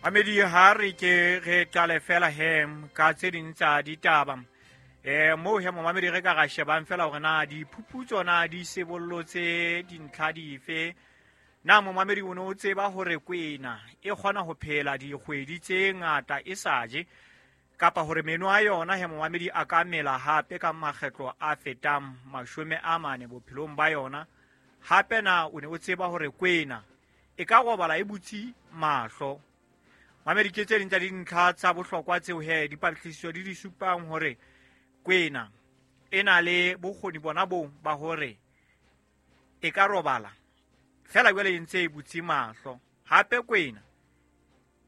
Mamedi, ha re ke re qale fela he ka tse ding tsa ditaba. Moo he momamedi re ka ra shebang fela hore na diphuputso na di sebollotse dintlha dife. Na momamedi o ne o tseba hore kwena e kgona ho phela dikgwedi tse ngata e sa je, kapa hore meno a yona he momamedi a ka mela hape ka makgetlo a fetang 40 bophelong ba yona? Hape na o ne o tseba hore kwena e ka robala e butse mahlo? Mamedi, ke tse ding tsa dintlha tsa bohlokwa tseo he dipatlisiso di di supang hore kwena e na le bokgoni bona boo ba hore e ka robala fela jwale e ntse e butse mahlo. Hape kwena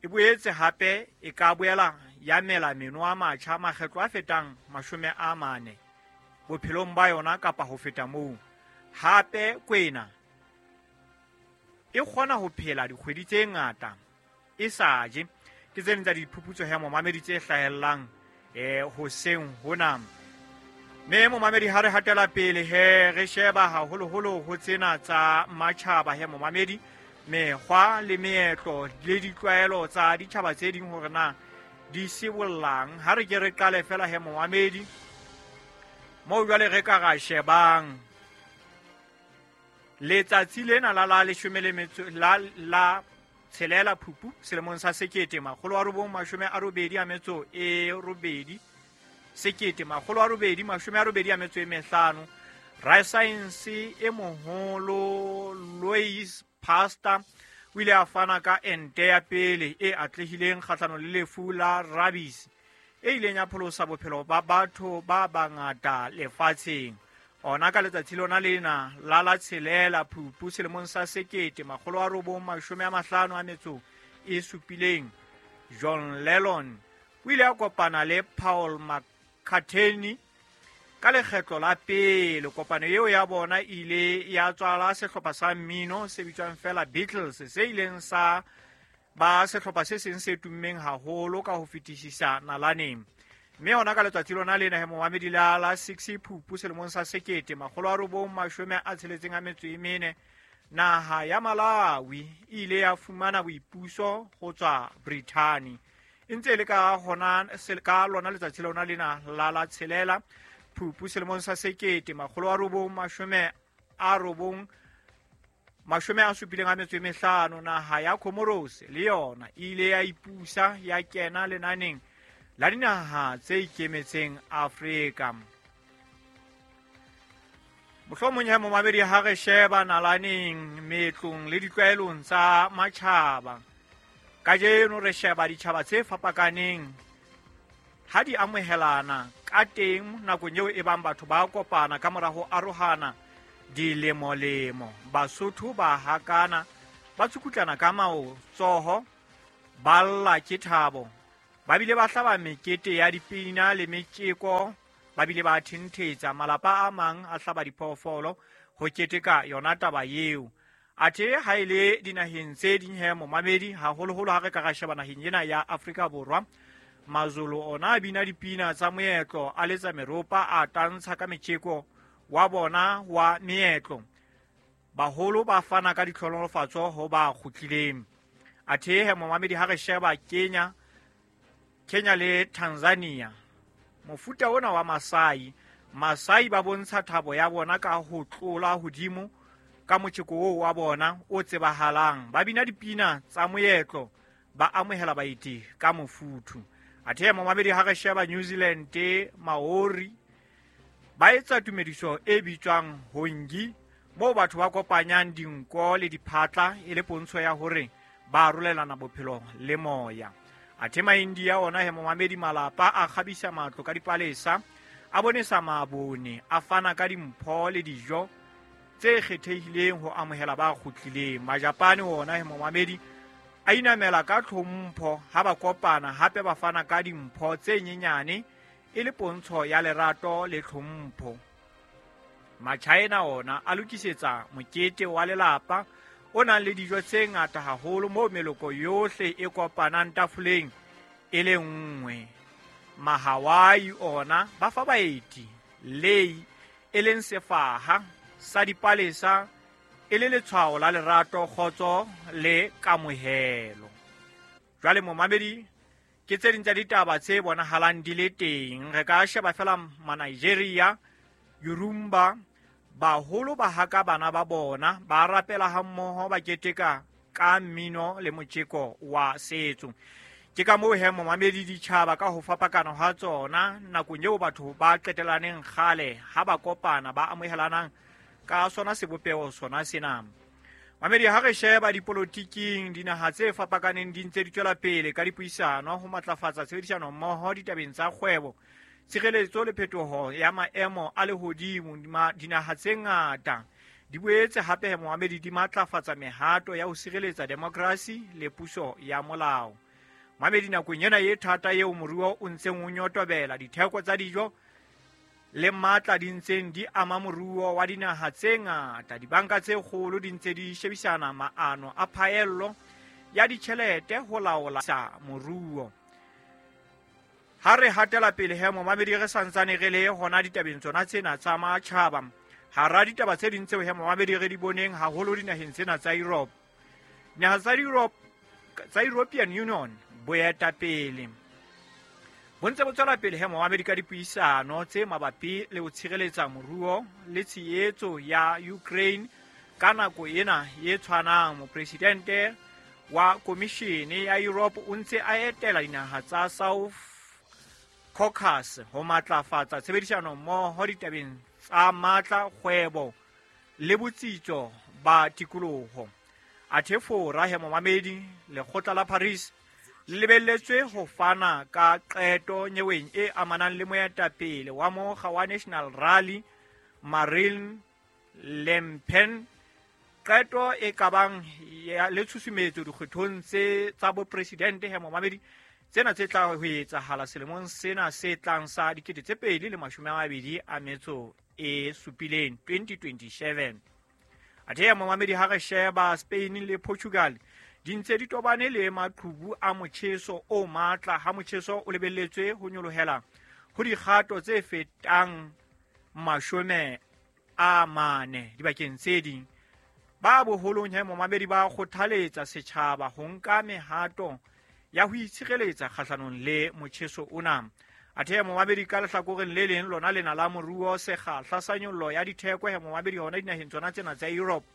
e boetse hape e ka boela ya mela meno a matjha makgetlo a fetang 40 bophelong ba yona kapa ho feta moo. Hape kwena e kgona ho phela dikgwedi tse ngata e sa je. Ke tse ding tsa diphuputso he momamedi tse hlahellang hoseng hona. Mme momamedi, ha re hatela pele he re sheba haholoholo ho tsena tsa matjhaba he momamedi, mekgwa le meetlo le ditlwaelo tsa ditjhaba tse ding hore na di sibollang. Ha re ke re qale fela he momamedi moo jwale re ka ra shebang letsatsi lena la la leshome le metso la la tshelela Phupu selemong sa 1988, 1885, rasaense e moholo Louis Pasteur o ile a fana ka ente ya pele e atlehileng kgahlanong le lefu la rabies e ileng ya pholosa bophelo ba batho ba bangata lefatsheng. Ona ka letsatsi lona lena la la tshelela Phupu selemong sa 1957, John Lennon o ile a kopana le Paul McCartney ka lekgetlo la pele. Kopano eo ya bona e ile ya tswala sehlopha sa mmino se bitswang fela Beatles, se ileng sa ba sehlopha se seng se tummeng haholo ka ho fetisisa nalaneng. Mme hona ka letsatsi lona lena he momamedi la la 6 Phupu selemong sa 1964, naha ya Malawi e ile ya fumana boipuso ho tswa Brithani. E ntse e le ka hona ka lona letsatsi lona lena la la tshelela Phupu selemong sa 1975, naha ya Comoros le yona e ile ya ipusa ya kena lenaneng la dinaha tse ikemetseng Afrika. Mohlomong he momamedi ha re sheba nalaneng meetlong le ditlwaelong tsa matjhaba kajeno, re sheba ditjhaba tse fapakaneng ha di amohelana ka teng nakong eo e bang batho ba kopana ka mora ho arohana dilemolemo. Basotho ba hakana, ba tsukutlana ka maotsoho, ba lla ke thabo, ba bile ba hlaba mekete ya dipina le metjeko, ba bile ba thenthetsa. Malapa a mang a hlaba diphoofolo ho keteka yona taba eo. Athe ha e le dinaheng tse ding he momamedi, haholoholo ha re ka ra sheba naheng ena ya Afrika Borwa, Mazulu ona a bina dipina tsa moetlo, a letsa meropa, a tantsha ka metjeko wa bona wa meetlo. Baholo ba fana ka ditlhonolofatso ho ba kgutlileng. Athe he momamedi ha re sheba Kenya, Kenya le Tanzania, mofuta ona wa Masai, Masai ba bontsha thabo ya bona ka ho tlola hodimo ka motjeko oo wa bona o tsebahalang. Ba bina dipina tsa moetlo, ba amohela baeti ka mofuthu. Athe momamedi ha re sheba New Zealand, Maori ba etsa tumediso e bitswang hongi, moo batho ba kopanyang dinko le diphatla e le pontsho ya hore ba arolelana bophelo le moya. Athe Maindia ona he momamedi, malapa a kgabisa matlo ka dipalesa, a bonesa mabone, a fana ka dimpho le dijo tse kgethehileng ho amohela ba kgutlileng. Majapane ona he momamedi a inamela ka tlhompho ha ba kopana, hape ba fana ka dimpho tse nyenyane e le pontsho ya lerato le tlhompho. Machina ona a lokisetsa mokete wa lelapa o nang le dijo tse ngata haholo, moo meloko yohle e kopanang tafoleng e le nngwe. Mahawaii ona ba fa baeti lei, e leng sefaha sa dipalesa, e le letshwao la lerato, kgotso le kamohelo. Jwale momamedi, ke tse ding tsa ditaba tse bonahalang di le teng. Re ka sheba fela ma-Nigeria, Yorumba, baholo ba haka bana ba bona, ba rapela hammoho, ba keteka ka mmino le motjeko wa setso. Ke ka moo he momamedi, ditjhaba ka ho fapakana hwa tsona nakong eo batho ba qetelaneng kgale ha ba kopana, ba amohelanang ka sona sebopeho sona sena. Mamedi, ha re sheba dipolotiking, dinaha tse fapakaneng di ntse di tswela pele ka dipuisano ho matlafatsa tshebedisano mmoho ditabeng tsa kgwebo, tshireletso le phetoho ya maemo a lehodimo. Dinaha tse ngata di boetse hape, momamedi, di matlafatsa mehato ya ho sireletsa demokrasi le puso ya molao. Mamedi, nakong ena e thata eo moruo o ntseng o nyotobela, ditheko tsa dijo le matla di ntseng di ama moruo wa dinaha tse ngata, dibanka tse kgolo di ntse di shebisana maano a phaello ya ditjhelete ho laola sa moruo. Ha re hatela pele he momamedi, re santsane re le hona ditabeng tsona tsena tsa matjhaba. Hara ditaba tse ding tseo he momamedi re di boneng haholo dinaheng tsena tsa Europe, dinaha tsa Europe, tsa European Union, boetapele bo ntse bo tswela pele he momamedi ka dipuisano tse mabapi le ho tshireletsa moruo le tshehetso ya Ukraine. Ka nako ena e tshwanang, mopresidente wa komishene ya Europe o ntse a etela dinaha tsa South Caucasus ho matlafatsa tshebedisano mmoho ditabeng tsa matla, kgwebo le botsitso ba tikoloho. Athe Fora he momamedi, lekgotla la Paris le lebelletswe ho fana ka qeto nyeweng e amanang le moetapele wa mokga wa National Rally, Marine Le Pen, qeto e ka bang le tshusumetso dikgethong tse tsa bopresidente he momamedi, tsena tse tla ho etsahala selemong sena se tlang sa 2027, 2027. Athe ya momamedi, ha re sheba Spain le Portugal, di ntse di tobane le maqhubu a motjheso o matla, ha motjheso o lebelletswe ho nyolohela ho dikgato tse fetang 40 dibakeng tse ding. Ba boholong he momamedi ba kgothaletsa setjhaba ho nka mehato ya ho itshireletsa kgahlanong le motjheso ona. Athe momamedi, ka lehlakoreng le leng lona lena la moruo, sekgahla sa nyollo ya ditheko he momamedi hona dinaheng tsona tsena tsa Europe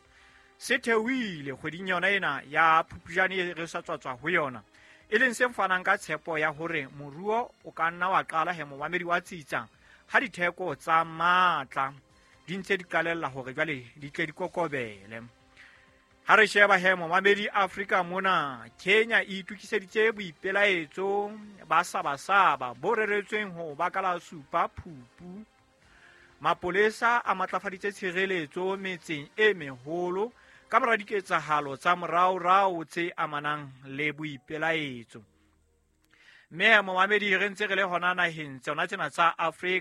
se theohile kgweding yona ena ya Phupjane e re sa tswatswa ho yona, e leng se fanang ka tshepo ya hore moruo o ka nna wa qala he momamedi wa tsitsa ha ditheko tsa matla di ntse di qalella hore jwale di tle di kokobele. Ha re sheba he momamedi Afrika mona, Kenya e itokiseditse boipelaetso ba Sabasaba bo reretsweng ho ba ka la 7 Phupu. Mapolesa a matlafaditse tshireletso metseng e meholo ka mora diketsahalo tsa moraorao tse amanang le boipelaetso. Mme momamedi, re ntse re le hona naheng tsona tsena tsa Afrika.